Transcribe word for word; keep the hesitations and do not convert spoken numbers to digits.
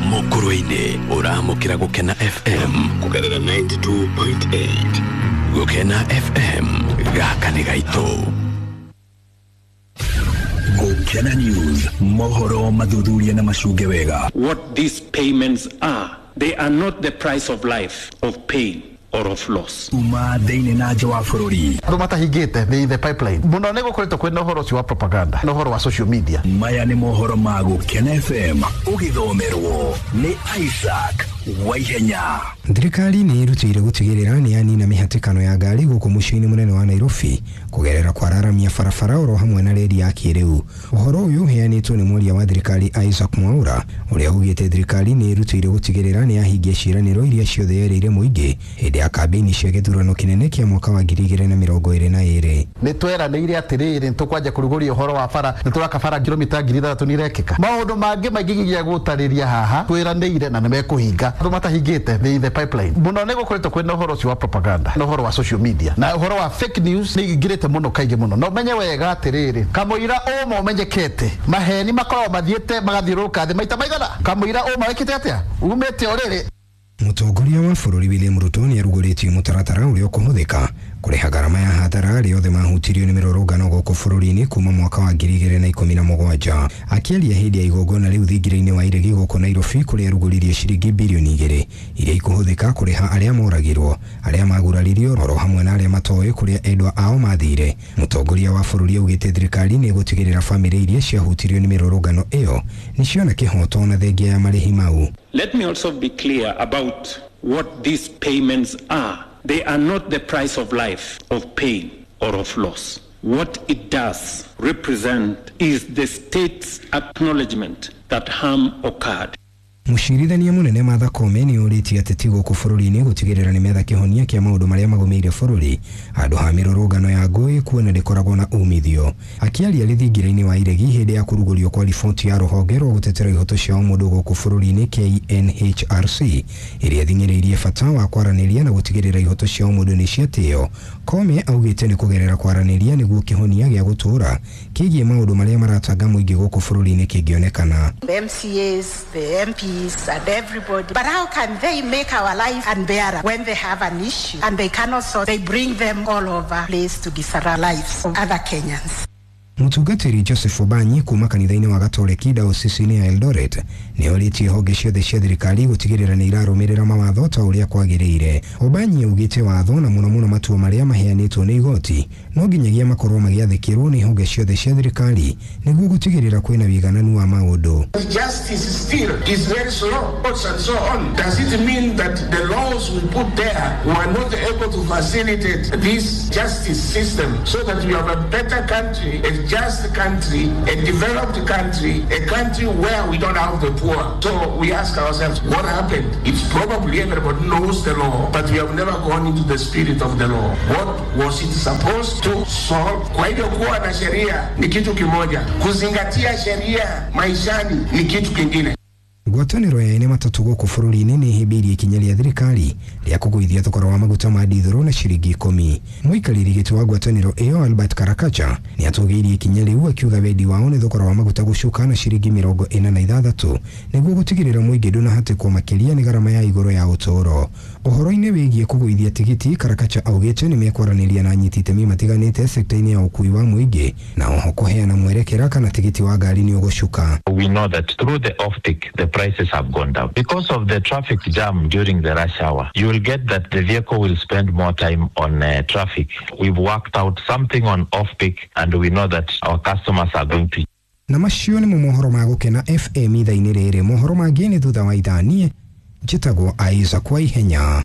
Mukurwe-ini uramukira Gukena F M kugerera ninety-two point eight. Gukena F M gaka ni gaito. Gukena News, mohoro mathuthuria na macuge wega. What these payments are, they are not the price of life, of pain or of loss. Uma thĩinĩ na nja wa bũrũri. Andũ matahingĩte nĩ the pipeline. Mũno nĩ gũkoretwo kwĩna ũhoro ũcio wa propaganda na ũhoro wa social media. Maya nĩ mohoro ma Gukena F M ũgĩthomerwo nĩ Isaac Waihenya. Thirikari nĩ ĩrutĩire gũtigĩrĩra nĩ yanina mĩhatĩkano ya ngari gũkũ mũciĩ-inĩ mũnene wa Nairobi kũgerera kwararamia barabara oro hamwe na reri ya kĩrĩu. Ũhoro ũyũ ũheanĩtwo nĩ mwaria wa thirikari Isaac Mwaura ũrĩa augĩte thirikari nĩ ĩrutĩire gũtigĩrĩra nĩ yahingia ciĩranĩro iria ciothe yerĩire mũingĩ hĩndĩ ya kambĩini cia gĩthurano kĩnene kĩa mwaka wa ngiri igĩrĩ na mĩrongo ĩrĩ na ĩrĩ. Nĩ tweranĩire atĩrĩrĩ, nĩ tũkwanja kũrugũria ũhoro wa bara, nĩ tũraka bara kilomita ngiri ithathatũ nĩ irekĩka. Maũndũ mangĩ maingĩ nginya gũtarĩria haha tweranĩire na nĩ mekũhinga. Andũ matahingĩte nĩ the pipeline. Mũno nĩ gũkoretwo kwĩna ũhoro ũcio wa propaganda na ũhoro wa social media na ũhoro wa fake news nĩ ingĩrĩte mũno kaingĩ mũno. Na ũmenye wega atĩrĩrĩ, kamũira ũma ũmenyekete, maheni makoragwo mathiĩte magathiũrũrũka thĩ maita maigana. Kamũira ũma wĩkĩte atĩa? Umĩte o rĩrĩ. Mũtongoria wa bũrũri William Ruto nĩ arugũrĩtie mũtaratara ũrĩa ũkũhũthĩka kũrĩha ngarama ya hathara arĩa othe mahutirio nĩ mĩrũrũngano gũkũ bũrũri-inĩ kuma mwaka wa ngiri igĩrĩ na ikũmi na mũgwanja. Akĩaria hĩndĩ ya igongona rĩu thingira-inĩ wa Iregi gũkũ Nairobi kũrĩa arugũririe ciringi birioni igĩrĩ iria ikũhũthĩka kũrĩha arĩa moragirwo, arĩa maguraririo oro hamwe na arĩa matoĩ kũrĩa endwa ao mathire. Mũtongoria wa bũrũri augĩte thirikari nĩ ĩgũtigĩrĩra bamĩrĩ iria ciahutirio nĩ mĩrũrũngano ĩyo nĩ ciona kĩhoto na thengia ya marĩhi mau. Let me also be clear about what these payments are. They are not the price of life, of pain, or of loss. What it does represent is the state's acknowledgement that harm occurred. Mũcirithania mũnene Martha Koome nĩ orĩtie ateti gũkũ bũrũri-inĩ gũtigĩrĩra nĩ metha kĩhonia kĩa maũndũ marĩa magũmĩire bũrũri handũ ha mĩrũrũngano ya ngũĩ kuona ndĩkoragwo na umithio. Akĩaria rĩthingira-inĩ wa Iregi hĩndĩ ya kũrugũrio kwa riboti ya rũhonge rwa gũtetera ihoto cia ũmũndũ gũkũ bũrũri-inĩ K N H R C ĩrĩa ĩthing'ĩrĩirie bata wa kwaranĩria na gũtigĩrĩra ihoto cia ũmũndũ nĩ ciatĩo, Koome augĩte nĩ kũgerera kwaranĩria nĩguo kĩhonia gĩa gũtũũra kĩgiĩ maũndũ marĩa maratanga mũingĩ gũkũ bũrũri-inĩ kĩngĩonekana. The M C As, the M Ps and everybody. But how can they make our life unbearable when they have an issue and they cannot solve? They bring them all over place to disrupt lives of other Kenyans. Mũtungatĩri Joseph Obanyi kuma kanitha-inĩ wa Gatoreki dayosisi-inĩ ya Eldoret nĩ orĩtie honge ciothe cia thirikari gũtigĩrĩra nĩ irarũmĩrĩra mawatho ta ũrĩa kwagĩrĩire. Obanyi augĩte watho na mũno mũno matua marĩa maheanĩtwo nĩ igoti no nginyagia makorwo magĩathĩkĩrwo nĩ honge ciothe cia thirikari nĩguo gũtigĩrĩra kwĩna wĩigananu wa maũndũ. Justice still is very slow and so on. Does it mean that the laws we put there were not able to facilitate this justice system so that we have a better country, a just country, a developed country, a country where we don't have the poor? So we ask ourselves, what happened? It's probably everybody knows the law, but we have never gone into the spirit of the law. What was it supposed to solve? Kwa hivyo kuwa na sheria ni kitu kimoja, kuzingatia sheria maishani ni kitu kingine. Ngwatanĩro ya ene matatũ gũkũ bũrũri-inĩ nĩ ĩhĩmbĩirie ikinya rĩa thirikari rĩa kũgũithia thogora wa maguta ma ndithũrũ na ciringi ikũmi. Mũikarĩri gĩtĩ wa ngwatanĩro ĩyo Albert Karakacha nĩ atũgĩirie ikinya rĩu akiuga wendi wao nĩ thogora wa maguta gũcuka na ciringi mĩrongo ĩna na ithathatũ nĩguo gũtigĩrĩra mũingĩ ndũnahatĩkwo makĩria nĩ garama ya igũrũ ya ũtũũro. Ũhoro-inĩ wĩgiĩ kũgũithia tigiti, Karakacha augĩte nĩ mekwaranĩria na anyiti itemi matiganĩte sekta-inĩ ya ũkuui wa mũingĩ na oho kũheana mwerekera kana tigiti wa ngari nĩ ũgũcuka. We know that through the off-peak, the prices have gone down. Because of the traffic jam during the rush hour, you will get that the vehicle will spend more time on uh, traffic. We've worked out something on off-peak and we know that our customers are going to. Na macio nĩmo mohoro ma Gũkena F M ithaa-inĩ rĩrĩ. Mohoro mangĩ nĩ thutha wa ithaa. Niĩ njĩtagwo Isaac Waihenya.